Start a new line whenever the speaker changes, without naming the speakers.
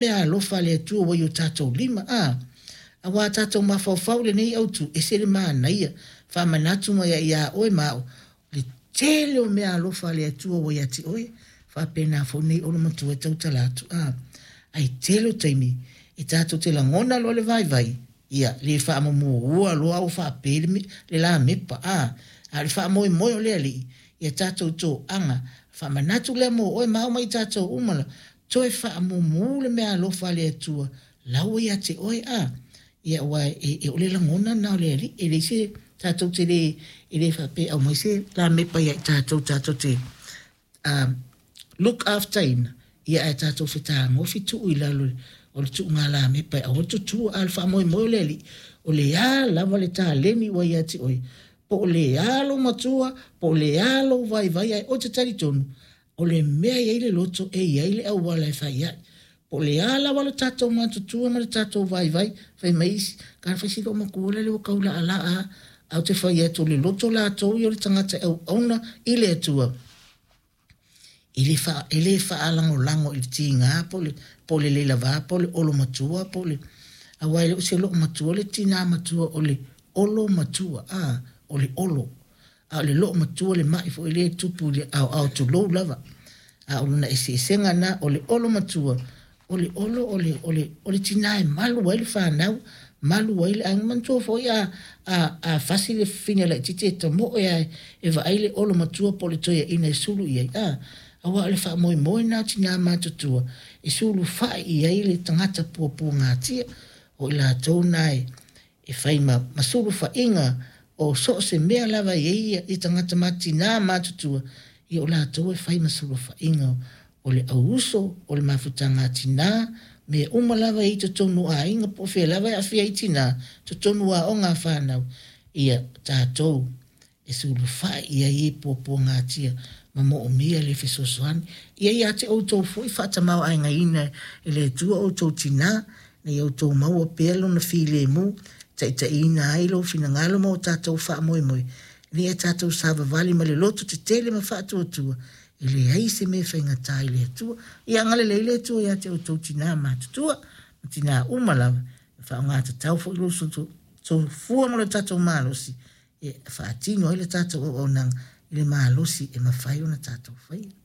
Mea alofa a le Atua ua i o tatou lima, a! Aua a tatou mafaufau i lenei autu, ese le manaia, faamanatu mai ai ia oe ma au, le tele o mea alofa a le Atua ua ia te oe, faapena foi lenei olo matua e tautala atu, a! Ae tele o taimi, e tatou te lagona loa le vaivai, ia, le faamumu loa a ua faape le, le lamepa, a! A o le faamoemoe o le Alii, ia tatou toaga, faamanatu lea mo oe ma au ma i tatou uma la, Toe faamumu le meaalofa a le Atua la ua ia te oe, a. Ia, aua e, e, o le lagona lena o le Alii, e leai se, tatou te le, e le faapea e aumai se lamepa ia i tatou, tatou te look after ina, ia ae tatou fetagofi tuu i lalo o le tuuga lamepa e aua le tutua. A o le faamoemoe o le Alii, o le a lava le taleni ua ia te oe, po o le a lou matua, po o le a lou vaivai, ae oe te talitonu, O le mea e i ai le loto, e i ai le auala e fai ai. Po o le a lava lo tatou matutua ma le tatou vaivai, fai mai isi, Kana fai si loomatua lele ua tau laalaa a. Ae ou te fai atu, o le loto latou ia o le tagata e auauna i le Atua, e le faa, e le faalagolago i le tiga po o le, po o le le lava po o le olo matua po o le, aua e le o se loomatua le tina matua, o le olo matua, a, o le olo. A o le loo matua le mai foi lea e tupu i le aoao tulou lava. A o lona eseesega lena, o le olo matua, o le olo o le, o le, o le tina e malu ai le fanau, malu ai le aiga. Manatua foi a, a, a fasi le fafine laitiiti e tamoe lava e vaai le olo matua po o le toeaina e sulu i ai, a, aua o le faamoemoe lena o tina matutua e sulufai i ai le tagata puapuagatia, o i latou na e, e fai ma, ma sulufaiga o so o se mea lava e i ai i tagata ma tinā matutua, ia o latou e fai ma sulufaiga o le auuso, o le mafutaga a tinā, mea uma lava e i ai i totonu o aiga po o fea lava e aafia ai tinā, totonu o aoga a fanau, ia tatou e sulufai i ai e puapuagatia ma moomia le fesoasoani. Ia ia te outou foi faatamaoaigaina e le Atua outou tinā, ina ia outou maua pea lona filemu, taitaiina ai lou finagalo ma o tatou faamoemoe, ina ia tatou savavali ma le loto tetele ma faatuatua, e leai se mea e faigata i le Atua. Ia agalelei le Atua ia te outou tinā matutua, ma tinā uma lava, e faaaoga tatau foi lou soifua ma lo tatou malosi, e faatino ai le tatou auaunaga i le malosi e mafai ona tatou faia.